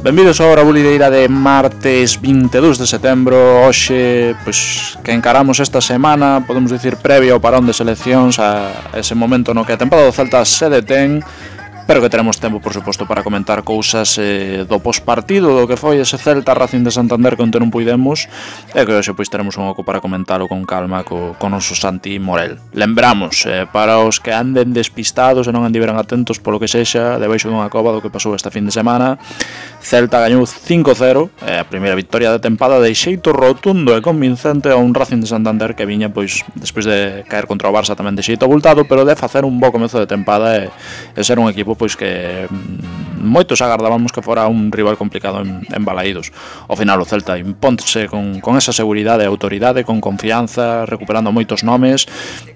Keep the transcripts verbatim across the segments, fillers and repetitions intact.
Benvidos a hora bulideira de martes vinte e dous de setembro. Hoxe, pois, que encaramos esta semana, podemos dicir, previo ao parón de seleccións, a ese momento no que a tempada do Celta se detén, pero que teremos tempo, por suposto, para comentar cousas eh, do pospartido, do que foi ese Celta Racing de Santander que onte non puidemos, e que hoxe pois teremos un oco para comentalo con calma co, con noso Santi Morel. Lembramos, eh, para os que anden despistados e non andiveran atentos polo que sexa, debaixo dunha cova do que pasou esta fin de semana, Celta gañou cinco cero, eh, a primeira victoria da tempada de xeito rotundo e convincente a un Racing de Santander que viña, pois, despois de caer contra o Barça tamén de xeito abultado, pero de facer un bo comezo de tempada e, e ser un equipo pois que mm, moitos agardábamos que fora un rival complicado en, en Balaídos. Ao final o Celta impónse con, con esa seguridade e autoridade, con confianza, recuperando moitos nomes,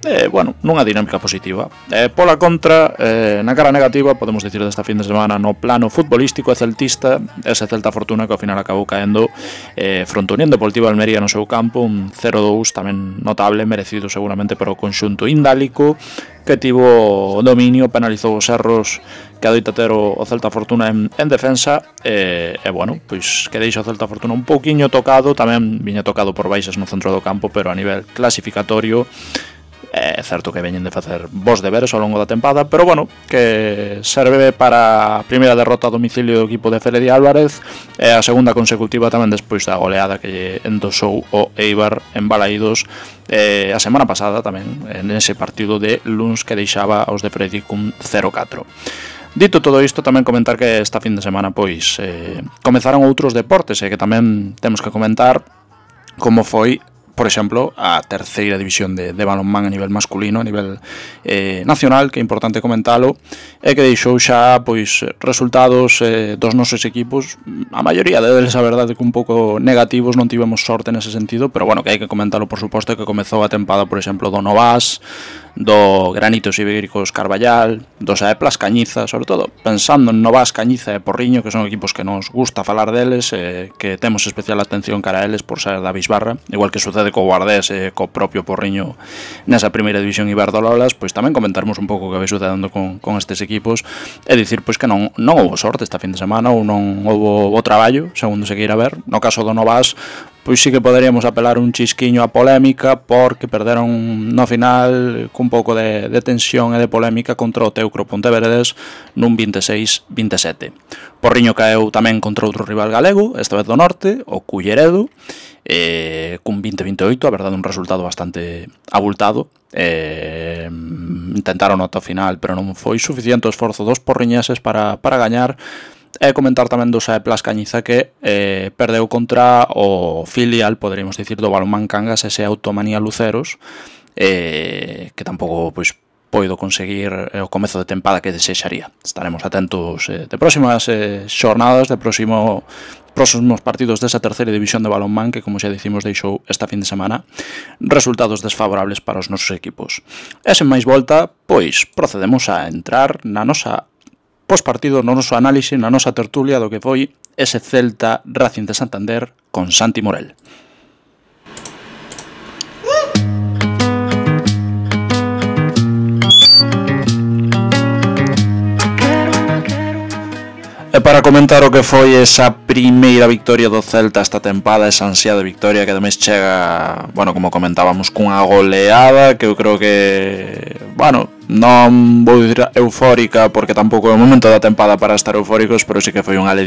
e, bueno, nunha dinámica positiva. E, pola contra, eh, na cara negativa, podemos dicir desta fin de semana, no plano futbolístico e celtista, ese Celta Fortuna que ao final acabou caendo eh, fronte a Unión Deportiva Almería no seu campo, un cero dous tamén notable, merecido seguramente para o conxunto indálico, que tivo o dominio, penalizou os erros que adoita ter o, o Celta Fortuna en, en defensa e, e bueno, pois que deixa o Celta Fortuna un pouquiño tocado, tamén viña tocado por baixas no centro do campo, pero a nivel clasificatorio é certo que veñen de facer bons deberes ao longo da tempada, pero bueno, que serve para a primeira derrota a domicilio do equipo de Félix Álvarez e a segunda consecutiva tamén despois da goleada que endosou o Eibar en Balaídos eh, a semana pasada tamén, en ese partido de luns que deixaba aos de Freddy cun cero catro. Dito todo isto, tamén comentar que esta fin de semana pois eh, comezaron outros deportes e que tamén temos que comentar, como foi, por exemplo, a terceira división de, de balonmán a nivel masculino, a nivel eh, nacional, que é importante comentalo, e que deixou xa pois resultados eh, dos nosos equipos, a maioría deles, a verdade, que un pouco negativos, non tivemos sorte nese sentido, pero bueno, que hai que comentalo, por suposto, que comezou a tempada, por exemplo, do Novas, do Granitos Ibéricos Carballal, dos Aeplas Cañiza, sobre todo pensando en Novas, Cañiza e Porriño, que son equipos que nos gusta falar deles, eh, que temos especial atención cara a eles por ser da Bisbarra, igual que sucede co Guardés e co propio Porriño nesa primeira división Iberdololas, pois tamén comentarmos un pouco o que vai sucedendo con, con estes equipos e dicir pois que non, non houve sorte esta fin de semana ou non houve o traballo, segundo se queira ver. No caso do Novas, pois sí que poderíamos apelar un chisquiño a polémica porque perderon no final cun pouco de, de tensión e de polémica contra o Teucro Ponteveredes nun vinte e seis vinte e sete. Porriño caeu tamén contra outro rival galego, esta vez do norte, o Culleredo, eh, cun vinte vinte e oito, a verdade un resultado bastante abultado. Eh, intentaron ata o final, pero non foi suficiente o esforzo dos porriñeses para, para gañar. E comentar tamén do Saeplas Cañiza que eh, perdeu contra o filial, poderíamos dicir, do Balonmán Cangas, ese Automanía Luceros, eh, que tampouco pois poido conseguir eh, o comezo de tempada que desexaría. Estaremos atentos eh, de próximas eh, xornadas, de próximo próximos partidos desa terceira división de balonmán que, como xa dicimos, deixou esta fin de semana resultados desfavorables para os nosos equipos. E sen máis volta, pois procedemos a entrar na nosa pospartido, no noso análise, na nosa tertulia do que foi ese Celta Racing de Santander con Santi Morel. E para comentar o que foi esa primeira victoria do Celta esta tempada, esa ansiada victoria que ademais chega, bueno, como comentábamos, cunha goleada que eu creo que, bueno, non vou dicir eufórica porque tampouco é o momento da tempada para estar eufóricos, pero sí que foi unha